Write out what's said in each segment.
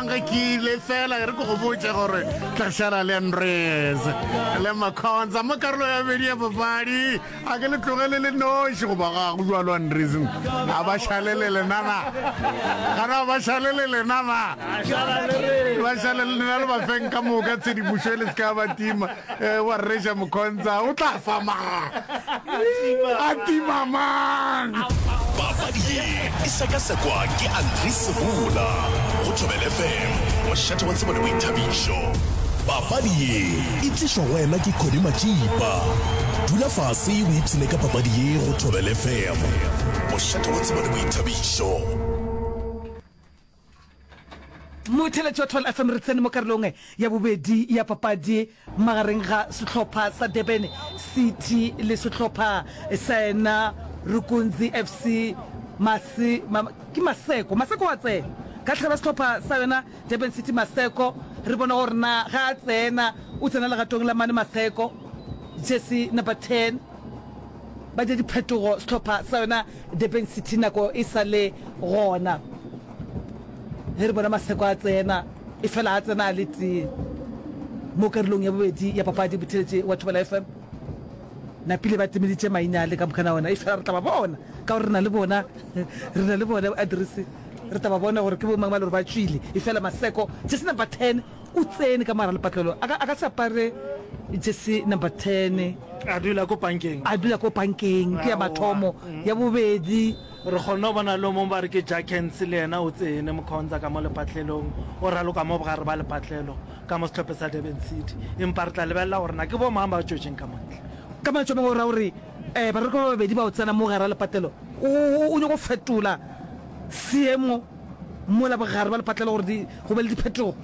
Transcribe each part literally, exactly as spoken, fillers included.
Ge ke ile fela re ke go botše gore tla šala le Andres le Makhonza mo karolo ya bobedi ya papadi. A ke le tlogele le noši goba ga go jalo Andres? A ba šale le lena na? Gana ba šale le lena na? Ba šale le lena le ba feng ka moka tshedimošo e le se ka ba tima. Eh, wa reša Mokhonza o tla fa mang? A tima mang? Papadi ye e sekasekwa ke Andries Sebola go Thobela F M, mošate wa tsebo le boithabišo. Papadi ye e tlišwa go wena ke Connie Matšipa. Dula fase o ipshine ka papadi ye go Thobela F M, mošate wa tsebo le boithabišo. Motheeletši wa Thobela F M, re tsene mo karolong ya bobedi ya papadi magareng ga sehlopha sa Durban City le sehlopha sa yena Rukunzi F C. Mase, ma, ke Maseko, Maseko wa tsena ka tlhaba sehlopha sa yona Durban City. Maseko, re bona gore na ga a tsena o tsena legatong la mane. Maseko, jersey number ten, ba dira diphetogo sehlopha sa yona Durban City nako e sa le gona. Ge re bona Maseko a tsena, efela a tsena a le tee mo karolong ya bobedi ya papadi. Botheletše wa Thobela F M napile ba timeditše maina le ka mokana ona, efela re tla ba bona ka gore re na le bona, re na le bona address, re tla ba bona gore ke bo mang ba le gore ba tšwile. Efela Maseko, jersey number ten, o tsene ka mogare lepatlelo, a ka, a ka se apare jersey number ten, a dula ko pankeng, a dula ko pankeng, ke ya mathomo. Ya bobedi, re kgonne go bona le o mongwe ba re ke Jackens, le yena o tsene Mokhonza ka mo lepatlelong, o raloka mo bogare ba lepatlelo ka mo sehlopheng sa Durban City. Empa re tla lebelela gore na ke bo mang ba tšwetšeng ka montle. Ka mantšu a mangwe o ra gore um baraloki ba babedi ba o tsena mo gare ga lepatlelo, o, o nyako fetola seemo mola bogare ba lepatlelo gore di, go be le diphetogo.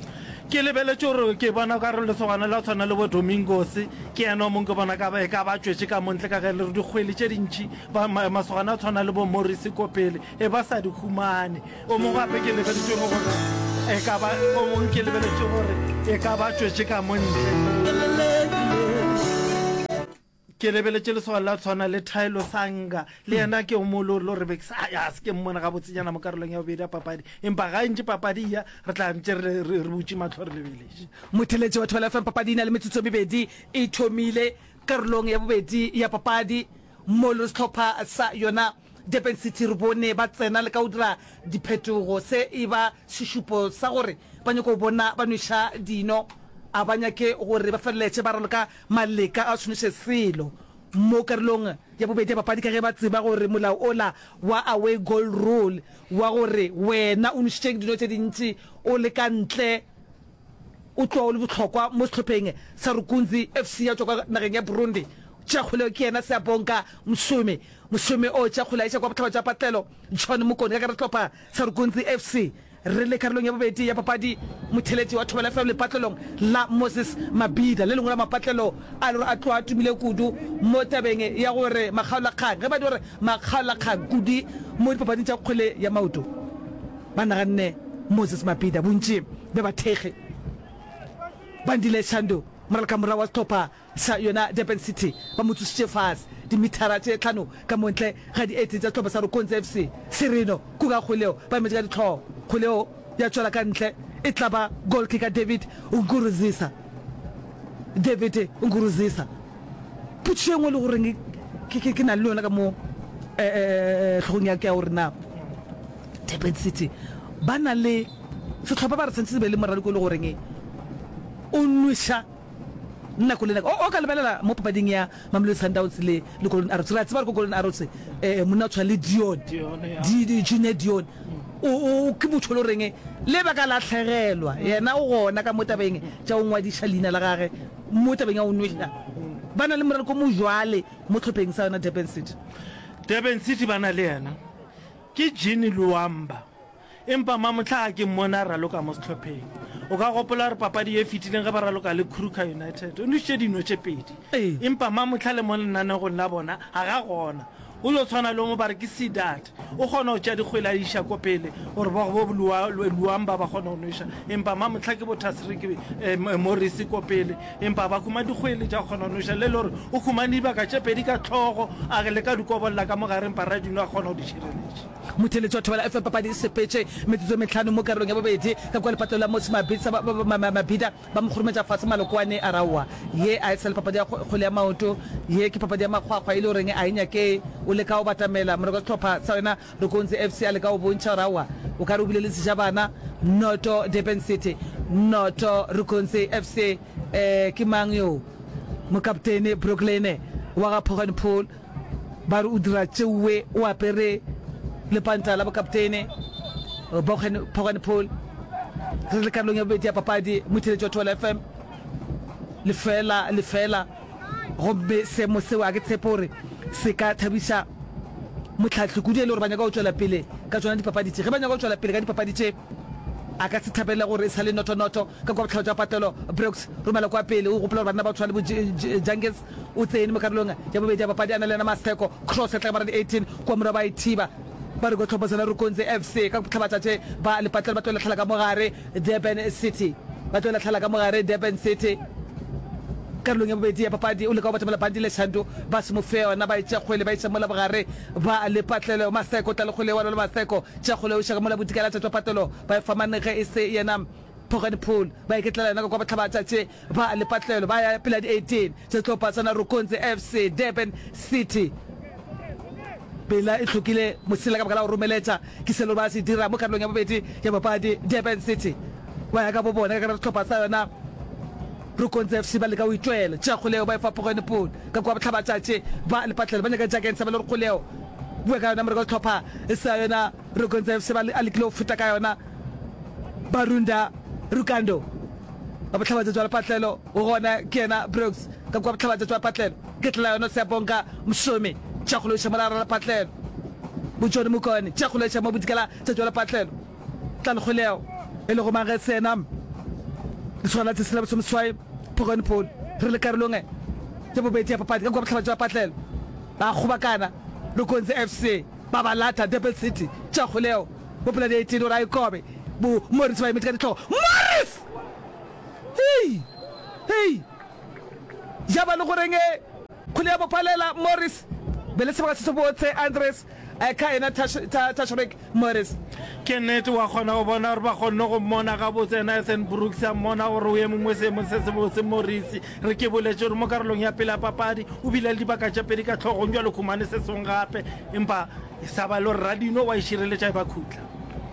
Ke lebeletše gore ke bona ka re lesogana la tshwana le bo Domingos, ke yena o mongwe ke bona ka ba, e ka ba tšwetše ka montle ka ge le re dikgwele tše dintši ba, ma, masogana a tshwana le bo Morris ko pele e ba sa di humane. O mongwe gape ke lebeletše gore e ka ba, o mongwe ke lebeletše gore e ka ba tšwetše ka montle. Ke lebeletše lesogana la tshwana le Thaelo Sanga, le yena ke o mongwe le re be ke sa ya se ke mmone gabotsenyana mo karolong ya bobedi ya papadi, empa ga ntše papadi ya re tla ntše re, re, re butše mahlo re lebeletše. Motheeletši wa Thobela F M, papadi e na le metsotso e mebedi e thomile karolong ya bobedi ya papadi mo le sehlopha sa yona Durban City re bone ba tsena le ka go dira diphetogo. Se e ba sešupo sa gore ba nyaka go bona ba nweša dino, a ba nyake gore ba feleletše ba raloka maleka a tshweniše selo mo karolong ya bobedi ya papadi ka ge ba tseba gore molao ola wa away goal rule wa gore wena o nwešitše dino tše dintši o le ka ntle o tloga o le bohlokwa mo sehlopheng sa Rukunzi F C ya tšwa kwa nageng ya Burundi. Tšea kgoleo ke yena Siyabonga Msomi. Msomi o tšea kgole a iša kwa bohlaba bja patlelo John Mokone ka gare sehlopha sa Rukunzi F C. Re le karolong ya bobedi ya papadi, motheeletši wa Thobela F M lepatlelong la Moses Mabhida, le lengwe la mapatlelo a le gore a tloga a tumile kudu mo tabeng ya gore makgaolakgang, ge ba di gore makgaolakgang kudu mo dipapading tša kgwele ya maoto, ba naganne Moses Mabhida. Bontši bja bathekgi Bandile Shandu, moralokamorao wa sehlopha sa yona Durban City, ba mo tsošitše fase dimithara tše tlhano ka mo ntle ga dieti tša sehlopha sa Rukonzi F C. Serino Kuka kgwele ba emetše ka dihlogo. Kgwele ya tšwela ka ntle, e tla ba goal kicker David Nkurunziza. David Nkurunziza. Potšišo e nngwe le goreng ke, ke, ke na le yona ka mo eh, hlogong ya ka ya gore na Durban City ba na le sehlopha ba re santse se be le moraloko e le goreng o nweša nako le nako. O, o ka lebelela mo papading ya Mamelodi Sundowns le, le Golden Arrows. Re a tseba gore ko Golden Arrows, eh, monna o tshwana le Dion, Dion, ya. Di, di, Junior Dion. O, o, ke motho e le goreng le ba ka lahlegelwa, yena o gona ka mo tabeng tša go ngwadiša leina la gage mo tabeng ya go nweša. Ba na le moraloko mo jwale mo hlopheng sa yona Durban City. Durban City ba na le yena ke Jean Luamba. Empa mamohla ga ke mmone a raloka mo sehlopheng. O ka gopola gore papadi ye e fetileng ge ba raloka le Kruger United, o nwešitše dino tše pedi. Empa mamohla le mo lenanegong la bona ga ga gona. O yo tshwana le o mongwe ba re ke Sidat. O kgona go tšea dikgwele a di iša ko pele gore ba bo Luamba ba kgone go nweša. Empa mamohla ke bo Tasrick Morris ko pele, empa ba humane dikgwele tša go kgona go nweša. Le le gore o humane dibaka tše pedi ka hlogo a leka di kobolla ka mo gare, empa Radino a kgona go di šireletša. Motheeletši wa Thobela F M papadi e sepetše metsotso e mehlano mo karolong ya bobedi ka kua lepatlelo la Motse Mabitsa ba, ba, ba, Mabida ba mo kgorometša fase Malokwane a raowa. Ye a e sa le papadi ya kgwele ya maoto, ye ke papadi ya makgwakgwa e le goreng a e nyake o leka go batamela moreko wa sehlopha sa yona Rokonzi F C a leka go bontšha gore aowa o ka re o bile le sejabana. Noto Durban City, noto Rokonzi F C. Eh, ke mang yo? Mokaptene Brooklyn wa ga Poggenpoel. Ba re o dira tšeue o apere lepanta la bokaptene Boggen Poggenpoel. Re le karolong ya bobedi ya papadi, motheeletši wa Thobela F M, lefeela lefeela, gomme seemo seo a ke tshepe gore se ka thabiša mohlahli kudu e le gore ba nyaka go tšwela pele ka tšona dipapadi tše. Ge ba nyaka go tšwela pele ka dipapadi tše, a ka se thabele gore e sa le noto-noto ka kua bohlaba bja patlelo. Brooks romela kua pele, o gopola gore banna ba go tshwana le bo Jungels o tsene mo karolong ya bobedi ya papadi a na le yena Maseko. Cross ya tla ka mara di eighteen kua morago ba e thiba. Ba re kwa tlhopho sona Rukunzi F C ka bohlabatšatši ba lepatlelo ba tlo lahlela ka mo gare Durban City. Ba tlo lahlela ka mo gare Durban City. Karolong ya bobedi ya papadi o leka go batamela Bandile Shandu ba se mo fe yona ba e tšea kgwele ba iša mola bogare ba lepatlelo. Maseko o tla le kgwele wa lwa le Maseko tšea kgwele o iša ka mola bodikela tša tšwa patlelo ba e fa mane ge e se yena Poggenpoel ba iketlela yona ka kwa bohlabatšatši ba lepatlelo ba ya pele ya di eighteen tša sehlopha sa Narukunzi F C Durban City. Pela e hlokile mosela ka baka la go romeletša ke selo ba se dira mo karolong ya bobedi ya papadi. Durban City ba ya ka bo bona ka gare sehlopha sa yona Rukunzi F C ba leka go itwela. Tšea kgoleo ba e fa Poggenpoel ka kwa bohlabatšatši ba lepatlelo ba nyaka Jurgens ba le gore kgoleo bua ka yona moreko sehlopha sa yona Rukunzi F C ba a lekile go feta ka yona. Barunda Rukando wa bohlabatšatši wa lepatlelo o gona ke yena Brooks ka kua bohlabatšatši wa lepatlelo ke tlela yona Siyabonga Msomi tša go loiša mola gare lepatlelo bo John Mokone tša go loiša mo bodikela tšatši wa lepatlelo tla lekgoleo e lego mang ge se yena lesogana la tsesela bosomeswai Phogone Paul re le karolong ya bobedi ya papadi ka kua bohlabatšatši wa lepatlelo ba kgobakana Lukonzi F C ba ba lata Durban City tša kgoleo Bo pela di eighteen gore a ikobe. Bo Morris ba emetše ka dihlogo. Morris! Hei! Hei! Ja ba le goreng e kgwele ya mo palela Morris. Be le sebaka se se botse Andres ka yena Tashreeq Morris. Ke nnete, wa kgona go bona gore ba kgonne go mmona gabotse. Yena Ethan Brooks a mmona gore o eme mo seemong se sebotse. Morris, re ke boletše gore mo karolong ya pele ya papadi o bile le dibaka tše pedi ka hlogong, bjale o humane se sengwe gape. Empa E sa ba le gore radino wa e šireletša e ba khutla.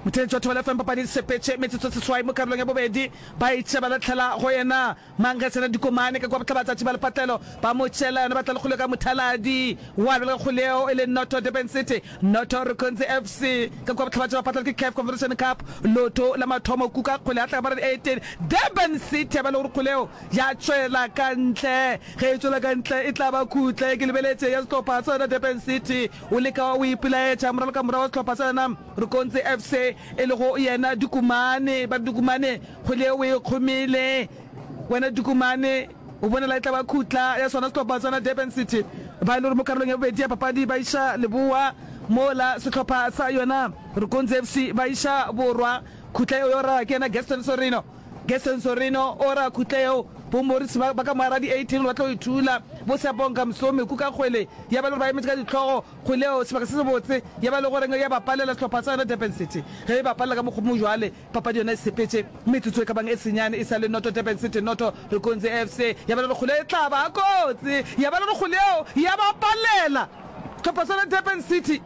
Motheeletši wa Thobela F M papadi e sepetše metsotso seswai mo karolong ya bobedi. Ba itše ba lahlela go yena Mangesela Dikomane ka kua bohlabatšatši ba lepatlelo ba mo tšela yona ba tla le kgoleo ka mothaladi wa bjale ka kgoleo e le noto Durban City noto Rukunzi F C ka kua bohlabatšatši ba patlelo ke CAF Confederation Cup loto la mathomo kuka kgole ya tla ka mara di eighteen Durban City ya ba le gore kgoleo ya tšwela ka ntle ge e tšwela ka ntle e tla ba khutle ke lebeletše ya sehlopha sa yona Durban City O leka o ipelaetša moralokamora wa sehlopha sa yona Rukonzi F C e lego yena Dukumane. Ba re Dukumane kgwele yeo o e kgomile. Wena Dukumane o bonela e tla ba khutla ya sona sehlopha sa yona Durban City. Ba e le gore mo karolong ya bobedi ya papadi ba iša leboa mola sehlopha sa yona Rukonzi F C ba iša borwa. Khutla yeo yo ra ke yena Gaston Sorino. Gerson Sorino o ra khutla yeo bo Morris ba ba ka moara di eighteen ba tlo e thula. Bo Siyabonga Msomi kuka kgwele ya ba le gore ba emetše ka dihlogo kgwele yeo sebaka se sebotse ya ba le goreng ya ba palela sehlopha sa yona Durban City ge e ba palela ka mokgwa mo jwale papadi yona e sepetše metsotso e ka bang e senyane e sa le noto Durban City noto Rukunzi F C ya ba le gore kgwele e tla ba kotsi ya ba le gore kgwele yeo ya ba palela sehlopha sa yona Durban City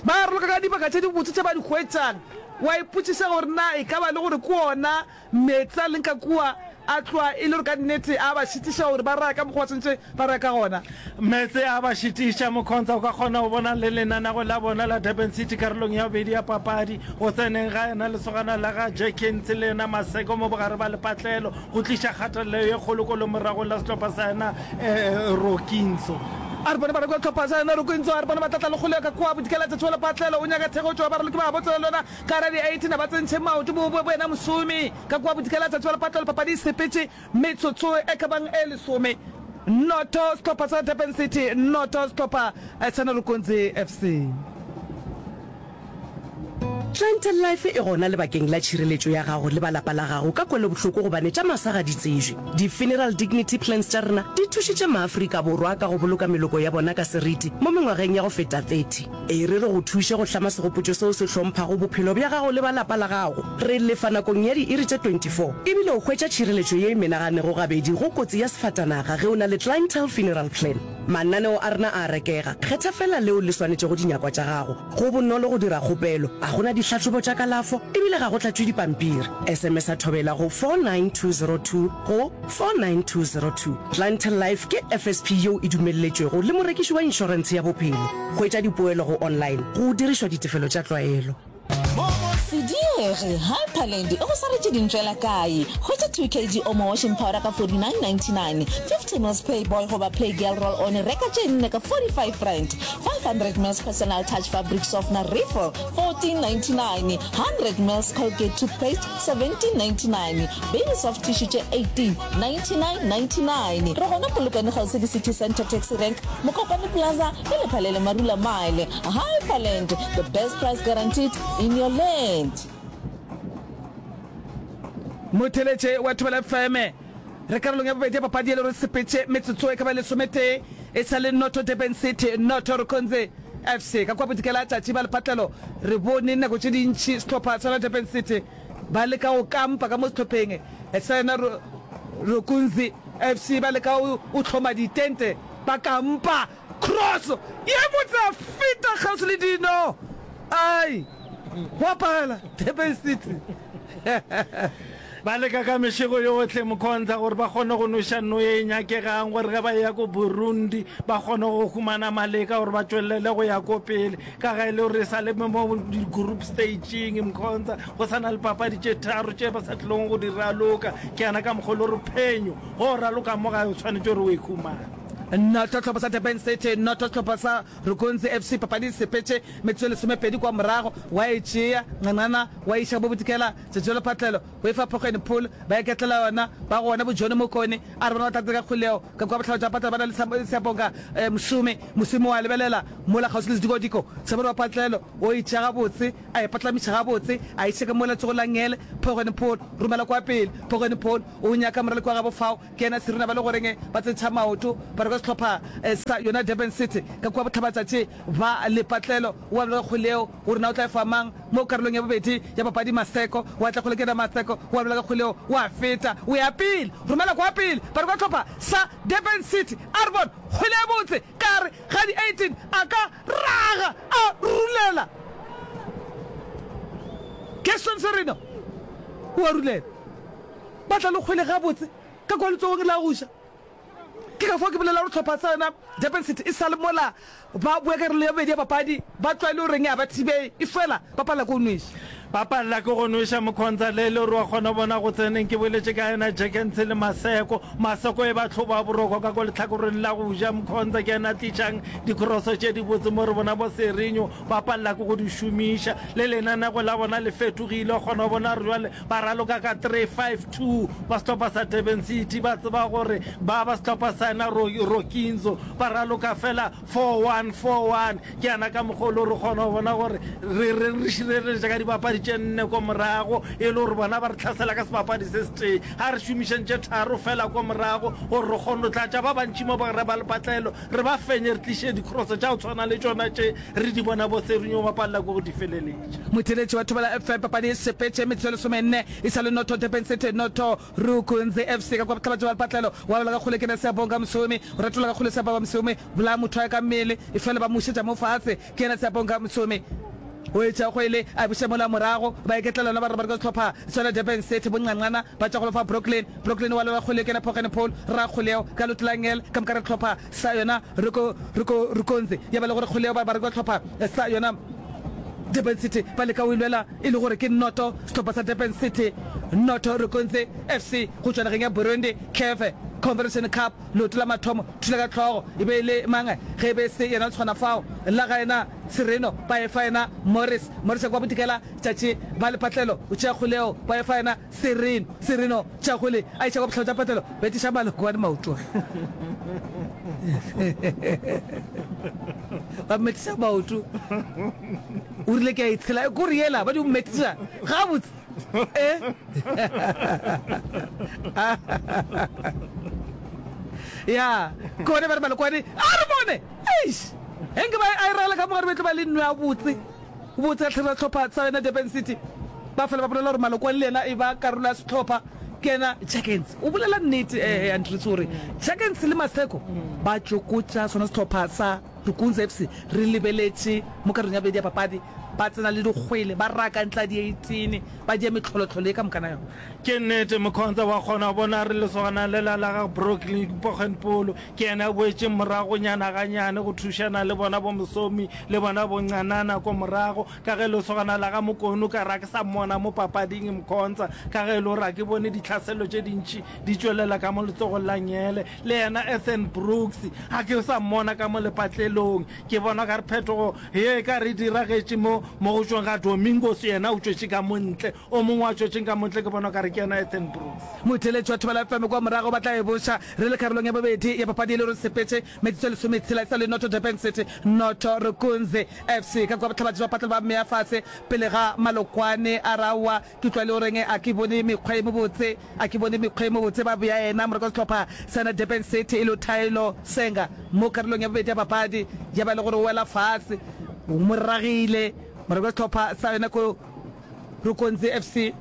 ba raloka ka dibaka tše dibotse tše ba di hwetšang. Wa ipotšiša gore na e ka ba le gore ke ona meetse a leng ka kua a tloga e le gore ka nnete a ba šitiša gore ba raya ka mokgwa ba swanetše ba raya ka gona. Meetse a ba šitiša. Mokhontsa o ka kgona go bona le lenanago la bona la Durban City karolong ya bobedi ya papadi. Go tseneng ga yena lesogana la ga Jerkins le yena Maseko mo bogare ba lepatlelo go tliša kgatelelo ye kgolo kolomoragong la sehlopha sa yena Rokinso. A re bone baraloki ba sehlopha sa yona Rokinso a re bone ba tla tla le kgolego ka kua bodikela tša tšhola patlelo o nyaka thekgo tšwa baraloki ba botsela le yona ka ra di eighteen a ba tsentšhe maoto bo bo yena mošomi ka kua bodikela tša tšhola patlelo papadi e sepetše metsotso e ka bang e lesome noto sehlopha sa Durban City noto sehlopha sa Narukonzi F C. Clientele Life e gona lebakeng la tšhireletšo ya gago le ba lapa la gago ka kwelobohloko gobane tša masa ga di tsejwe. Di-funeral dignity plans tša rena di thušitše maAfrika Borwa ka go boloka meloko ya bona ka seriti mo mengwageng ya go feta thirty. E re re go thuše go hlama segopotšo seo se hlomphago bophelo bja gago le ba lapa la gago. Re lefa nakong ya diiri tše twenty four ebile o hwetša tšhireletšo ye e menaganego gabedi go kotsi ya sefatanaga ge o na le Clientele Funeral Plan. Mananeo a rena a a rekega, kgetha feela leo le swanetšego dinyakwa tša gago. Go bonolo go dira kgopelo, ga go na dihlahlobo tša kalafo e bile ga go tlatšwe dipampiri. S M S-a Thobela go four nine two zero two go four nine two zero two. Clientele Life ke F S P yeo e dumelletšwego le morekiši wa inšorentshe ya bophelo. Hwetša dipoelo go online go dirišwa ditefelo tša tlwaelo. Se diege, Hyperland e go swaretše dintšwela kae? Hwetša two K G Omo washing powder ka forty-nine ninety-nine, fifty mils Playboy goba Playgirl roll on reka tše nne ka forty-five rand, five hundred mils Personal Touch fabric softener refill fourteen ninety-nine, hundred mils Colgate toothpaste seventeen ninety-nine, Baby Soft tissue tše eighteen ninety-nine ninety-nine. Re gona Polokwane kgauswi le City Centre Taxi Rank, Mokopane Plaza le Lephalele Marula Mile. Hyperland, the best price guaranteed in your land. Motheletše wa Thobela F M, re karolong ya bobedi ya papadi e le gore sepetše metsotso e ka ba lesometee e sa le noto Durban City noto Rukunzi F C ka kua bodikela tšatši ba lepatlelo. Re bone nako tše dintši sehlopha sa Durban City ba leka go kampa ka mo sehlopheng sa yona Rukunzi F C, ba leka go hloma ditente ba kampa. Cross ye botse a feta kgauswi le dino, ai go apagela Durban City. Ba leka ka mešego yohle, Mkhonza, gore ba kgone go nweša nno ye e nyakegang gore ge ba eya ko Burundi ba kgone go humana maleka gore ba tšwelele go ya ko pele, ka ge e le gore e sa le mo di-group stageng, Mkhonza, go sa na le papadi tše tharo tše ba sa tlilong go di raloka. Ke yana ka mokgwa e le gore phenyo ge o raloka mo gae o swanetše gore o e humane. Noto sehlopha sa Durban City, noto sehlopha sa Rukunzi F C. Papadi e sepetše metsotso e lesomepedi kwa morago, wa e tšea Nqanqana wa iša bo Bodikela Tšetšelo Phatlelo o e fa Phogweni Pool ba iketlela yona ba gona bo Johnny Mokone a re bona ba tlatse ka kgoleo ka kua bohlaba tša Phatlelo ba na le Siabonga Mosome Mosome wa lebelela mola kgauswi le sedikodiko Sebone wa Phatlelo o e tšea gabotse a e patlamiša gabotse a iša ka mola letsogong la ngele Phogweni Pool romela kwa pele Phogweni Pool o nyaka moraloki wa gabo fao ke yena Serena ba le goreng ba tsentšha maoto ba reka sehlopha sa yona Durban City ka kua bohlabatšatši ba lepatlelo wa boloka kgwele gore na o tla e fa mang mo karolong ya bobedi ya papadi. Maseko wa tla kgwele ke yena Maseko wa boloka kgwele wa feta o ya pele romela kwa pele ba reka sehlopha sa Durban City a re bone kgwele ya botse ka re ga di eighteen a ka raga a rulela Gaston Sereno o a rulela ba tla le kgwele gabotse ka kwa letsogong la go ja. Ke ka fao ke bolela gore hlopha sa yona Durban City e sa le mola ba boya karolo ya bobedi ya papadi ba tlwaele gore eng a ba thibee efela ba palela ke go nweša. Ba palela ke go nweša Mkhonza le le gore wa kgona bona go tseneng ke boletše ka yena Jenkins le Maseko. Maseko e ba hloba boroko ka ko lehlakoreng la go ja. Mkhonza ke yena a tlišang dikroso tše dibotse mo re bona bo Serinho ba palela ke go di šomiša. Le lenanego la bona le fetogile wa kgona go bona gore jwale ba raloka ka three five two. Ba sehlopha sa Durban City ba tseba gore ba ba sehlopha sa yena Rokinzo ba raloka fela four one four one. Ke yana ka mokgwa o le gore kgona go bona gore re reng re šireletša ka dibapadi tše nne ko morago e le gore bona ba re hlasela ka sebapadi se setee. A re šomišeng tše tharo fela ko morago gore re kgone go tlatša ba bantši mo ba re ba lepatlelo re ba fenye re tliše dikroso tša go tshwana le tšona tše re di bona bo Serinho ba palela ke go di feleletša. Motheeletši wa Thobela F M, papadi e sepetše metsotso e lesomenne e sa le noto Durban City noto Rukunzi F C ka kua bohlabatša ba lepatlelo wa wela ka kgole ke yena Siyabonga Msomi o retola ka kgole Siyabonga Msomi bolaya motho wa ka mmele efela ba mušetša mo fatshe ke yena Siyabonga Msomi o etša kgwele a buša mola morago ba iketlela yona ba re ba re ka sehlopha sona Durban City bonqanqana ba tšwa go lefa Brooklyn Brooklyn wa lwela kgwele ke yena Phogene Paul ra kgwele yeo ka leoto la ngele ka moka re hlopha sa yona Ruko Ruko Rukonzi ya ba le gore kgwele yeo ba ba re ka hlopha sa yona Durban City ba leka go e lwela e le gore ke noto sehlopha sa Durban City noto Rukunzi F C go tšwa nageng ya Burundi CAF Confederation Cup leoto la mathomo thula ka hlogo e be e le mang ge e be e se yena Letshwana fao la ga yena Sereno ba e fa yena Morris Morris ya kwa bodikela tšatši ba lepatlelo o tšea kgwele yeo ba e fa yena Sereno Sereno tšea kgwele a iša kwa bohlabo tša patlelo betiša maloko a maoto ba metiša maoto. O rile ke a e tshela, kore yela ba di mmetša gabotse. Eh? Ya, ke gone ba re Malokwane, a re bone! Eish! Ge nke ba a e ragela ka mogare be tlo ba le nno ya botse. Botse ka tlhare la sehlopha sa yona Durban City. Ba fela ba bolela gore Malokwane le yena e ba karolo ya sehlopha. Ke yena Jurgens. O bolela nnete, eh, Andries gore Jurgens le Maseko ba tšokotša sona sehlopha sa Dukunze FC. Re lebeletše mo karolong ya bobedi ya papadi, ba tsena le dikgwele, ba raka ntla di-eighteen, ba dia mehlolohlolo ye ka mokana yona. Ke nnete, Mkhonza wa kgona go bona re lesogana lela la ga Brooklyn Poggenpoel ke yena a boetšeng moragonyana ganyane go thušana le bona bo Msomi le bona bo Ncanana ko morago ka ge lesogana la ga Mokonu ka re a ke sa mmona mo papading Mkhonza ka ge e le gore a ke bone ditlhaselo tše dintši di tšwelela ka mo letsogong la ngele le yena Ethan Brooks ga ke sa mmona ka mo lepatlelong ke bona ka re phetogo ye e ka re diragetše mo mo go tšweng ga Domingos yena o tšwetše ka mo ntle o mongwe a tšwetšeng ka mo ntle ke bona ka re ke yena Ethan Brooks. Motheeletši wa Thobela F M kwa morago ba tla e boša re le karolong ya bobedi ya papadi e le gore sepetše metsotso e lesometshela e sa le noto Durban City noto Rukunzi F C ka kua bohlabatši ba patlelo ba mmea fase pele ga Malokwane a re aowa ke tlwa le goreng a ke bone mekgwa e mebotse a ke bone mekgwa e mebotse ba bea yena morako wa sehlopha sa na Durban City e le Thaelo Senga mo karolong ya bobedi ya papadi ya ba le gore o wela fase o mo ragile morako wa sehlopha sa yona ko Rukunzi F C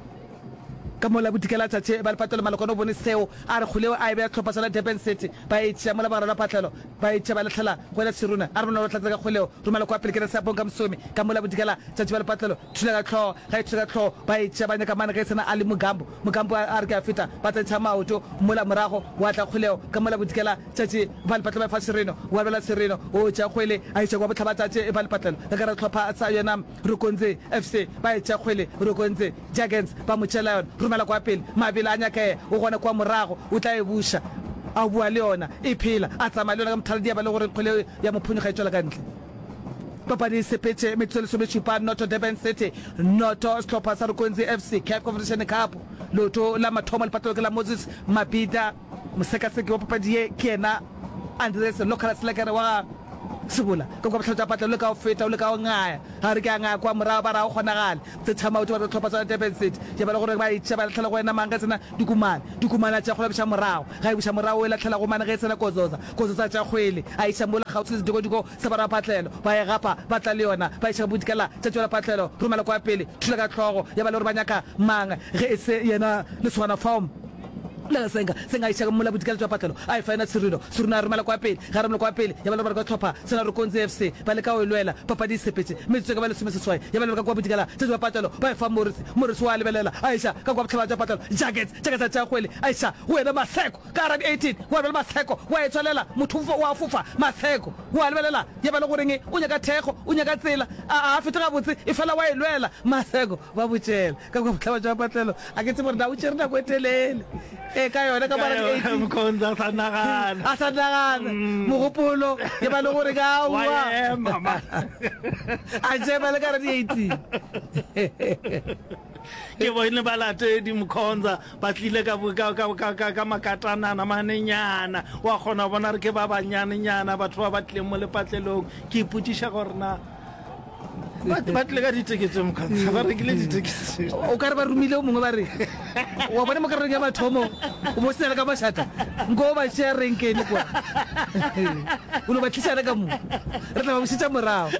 Ka mola bodikela tšatši ba lepatlelo Malokwane o bone seo, a re kgole eo a e beya sehlopha sa la Durban City ba e tšea mola bagare la patlelo ba e tšea ba lahlela go yena Siruna a re bonolo tlatse ka kgole eo romela kwa pele ke re Seapong ka Mosomi ka mola bodikela tšatši ba lepatlelo thula ka hlogo ga e thula ka hlogo ba e tšea ba nyaka mane ge e sena a le Mugambo Mugambo a re ke a feta ba tsentšha maoto mola morago wa tla kgole eo ka mola bodikela tšatši ba lepatlelo ba e fa Sirino wa bela Sirino o tšea kgwele a iša kwa bohlaba tšatši ba lepatlelo ka gare sehlopha sa yona Rukunzi F C ba e tšea kgwele Rukunzi Jurgens ba mo tšeela yona, romela kwa pele, mabelo a nyakega, o gona kua morago, o tla e buša, a boa le yona, e phela, a tsamaya le yona ka mothaladi ya ba le gore kgwele ya mo phonyokga e tšwela ka ntle. Papadi e sepetše metsotso e lesomešupa, noto Durban City, noto sehlopha sa Rukunzi F C, Caf Confederation Cup, leoto la mathomo lepatlelo ke la Moses Mabhida, mosekaseki wa papadi ye ke yena Andries Local Slekere wa ga Sebola, ka kua bohlale tša patlelo le ka go feta o le ka go ngaya, ga re ke a ngaya kua morago ba re ga go kgonagale. Tse maoto ba re hlopha sona Durban City ya ba le gore ba e tšea ba lahlela go wena mang ge e sena Dikumane. Dikumane a tšea kgwele a buša morago. Ga e buša morago o e lahlela go mane ge e sena Kozoza. Kozoza a tšea kgwele a iša mola kgauswi le sedikodiko sa ba rapatlelo. Ba e gapa ba tla le yona ba iša bodikela tša tšwela patlelo. Romela kwa pele thula ka hlogo ya ba le gore ba nyaka mang ge e se yena lesogana fao. Le Senga, Senga a iša mola bodikela jwa patlelo, a e fa yena Sirino. Sirino a romela kwa pele, ge a romela kwa pele, ya ba le gore ba hlopha sena Rukonzi F C ba leka go e lwela. Papadi e sepetše metsotso e ka ba lesomeseswai, ya ba le ka kua bodikela tša jwa patlelo, ba e fa Morris. Morris o a lebelela, a iša ka kua bohlaba jwa patlelo. Jackets, Jackets a tšea kgwele, a iša go yena Maseko ka gara di eighteen, wa bjale Maseko wa e tswalela, motho o a fofa, Maseko o a lebelela, ya ba le goreng o nyaka thekgo, o nyaka tsela, a a fete gabotse, efela wa e lwela, Maseko ba botšela ka kua bohlaba jwa patlelo. A ke tsebe gore na o tšere nako e telele e ka yona ka mara di Mkhonza a sa nagana. A sa nagana mogopolo ke ba le gore ka Wa ema ma. A jema le ka re di eighteen. Ke bone balatedi Mkhonza ba tlile ka ka ka ka ka ka makatanana manenyana. Wa kgona go bona re ke ba banyanenyana batho ba ba tlileng mo lepatlelong. Ke ipotšiša gore na Ba ba tlile ka ditekete mokhantsha, ba rekile ditekete. O ka re ba romile o mongwe ba re, wa bona mo karolong ya mathomo o bo sena le ka mašata, nko o ba tšea renkene kwa. O no ba tliša le ka mo, re tla ba bušetša morago.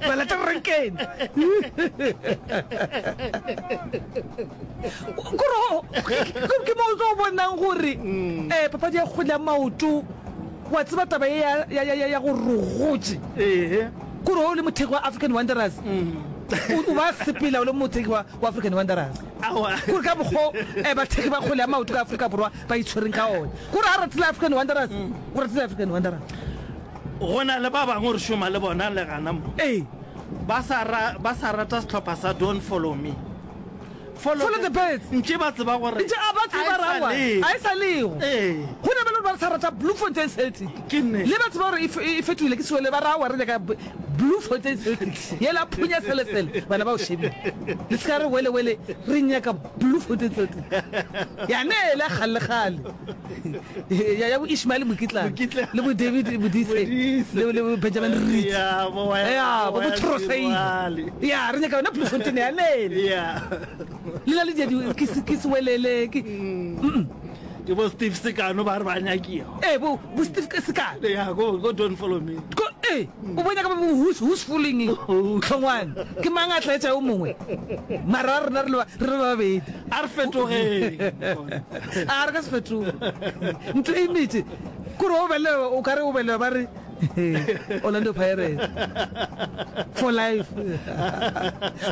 Ba lata renkene. Kore ke mo o tlo bonang gore um papadi ya kgwele ya maoto, wa tseba taba ye ya, ya, ya, ya gore re gotše. Ee. Kore o le mothekgi wa African Wanderers, o, o ba sepela o le mothekgi wa, wa African Wanderers. Aowa. Kore ka mokgo eh, bathekgi ba kgwele ya maoto ka Afrika Borwa ba itshwereng ka ona. Kore ga ratile African Wanderers, o ratile African Wanderers. Go na le ba bangwe re šoma le bona le gana mo. Ee. Ba sa ra, ba sa rata sehlopha sa Don't Follow Me. Follow, Follow the birds. Ntše ba tseba gore Ntše a ba tseba a e sa rawa, lego. a e sa lego. Ee. Go na ba le gore ba ba re sa rata Bloemfontein Celtic. Ke nnete. Le ba tseba gore e fe- e fetogile ke sewele ba ra wa re nyaka B- Bloemfontein Celtic. Yela phunya sele sele bana ba o shebile. Le se ka re wele wele re nyaka Bloemfontein Celtic. Ya ne le kgale kgale. Ya ya bo Ishmael Mokitlane Mokitlane. le bo David Modise Modise. le le bo Benjamin Reed. Ya, bo wa- Ya bo bo wa Troseile. Sirwale. Ya re nyaka yona Bloemfontein ya lele. Ya. Le na le dia di ke se- ke sewelele ke Ke bo Steve Sekano ba re ba nyakiwa. eh bo bo Steve Sekano. Ya, go go don't follow me. Ko ee o bonya ka bo who's who's fooling tlhongwane ke mang a tlaetša yo mongwe mara rena re le ba- re le ba babedi A re fetogeng. a re ka se fetoge ntho e metse kore o bele o kare o bele ba re Orlando Pirates for life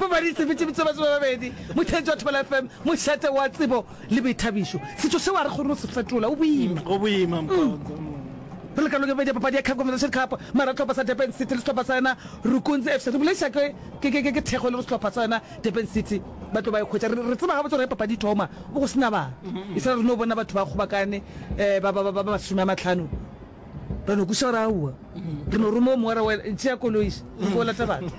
papadi sepetse ba babedi motheetši wa Thobela FM mošate wa tsebo le boithabišo setšo seo a re kgone go se fetola o boima Go boima Mkhonza. re le kalong ya bobedi ya papadi ya CAF Confederation Cup mara sehlopha sa Durban City le sehlopha sa yona Rukunzi FC re bolediša ke ke ke ke thekgo e le go sehlopha sa yona Durban City ba tlo ba e hwetša re re tseba gabotse gore ge papadi e thoma bo go sena bana e fela re no bona batho ba kgobakane um ba ba ba ba masome a matlhano re no kwešiša gore aowa re no roma o mongwe ra wena tšea koloi re ko lata batho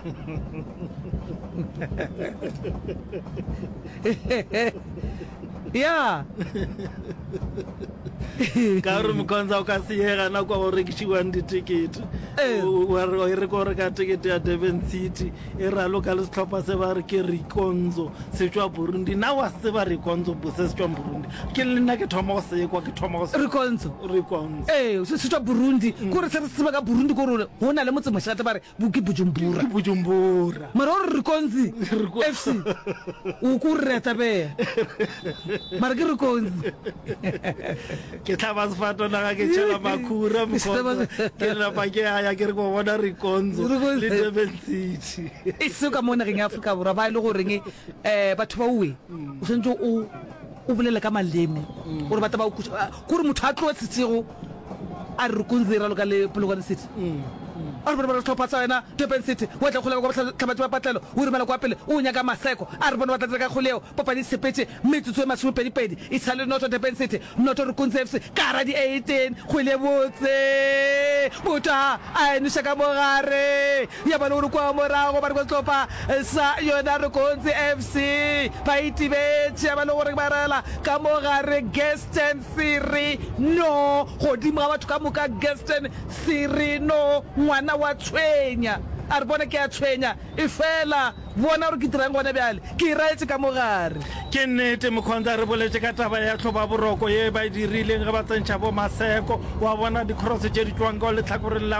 ya Ka gore Mkhonza o ka seyega nako go rekišiwang ditekete. Ee. O wa re e re ko reka tekete ya Durban City e raloka le sehlopha se ba re ke Rikonzo se tšwa Burundi. Na wa se tseba Rikonzo bo se se tšwang Burundi? Ke le nna ke thoma go se kwa ke thoma go se Rikonzo. Rikonzo. Ee, se se tšwa Burundi. Ke gore se re se tseba ka Burundi ke gore go na le motsemošate ba re bo ke Bujumbura. Ke Bujumbura. Mara o re Rikonzi FC o ko re re a tabea. Mara ke Rikonzi. Ke hlaba sefatanaga ke tšhela makhura Mkhonza. Ke napa ke a ya ke re ko bona Rikonzo Rikonzo. le Durban City. E seo ka mo nageng ya Afrika Borwa ba e le goreng um batho ba owe o swanetše o o bolele ka maleme gore ba tla ba o kweša. Ah, Kore motho a tloe setsego a re Rikonzi e raloka le Polokwane City. A re bone ba sehlopha sa yona Durban City wa tla kgolego kwa bohlabatši ba patlelo o romela kwa pele o nyaka Maseko a re bone ba tla tsena ka kgole yeo papadi e sepetše metsotso e masomepedipedi e sa le noto Durban City noto Rukunzi F C ka gara di eighteen kgwele botse motho a a e noša ka mogare ya ba le gore kwa morago ba re kwa sehlopha sa yona Rukunzi F C ba itibetše ya ba le gore ba rela ka mogare Gaston Siri no godimo ga batho ka moka Gaston Siri no ngwana wa tshwenya a re bona ke a tshwenya efela bona gore ke dirang gona bjale ke e raetše ka mo gare. Ke nnete Mkhonza re boletše ka taba ya tlhobaboroko ye ba e dirileng ge ba tsentšha bo Maseko wa bona di cross tše di tšwang ka lehlakoreng la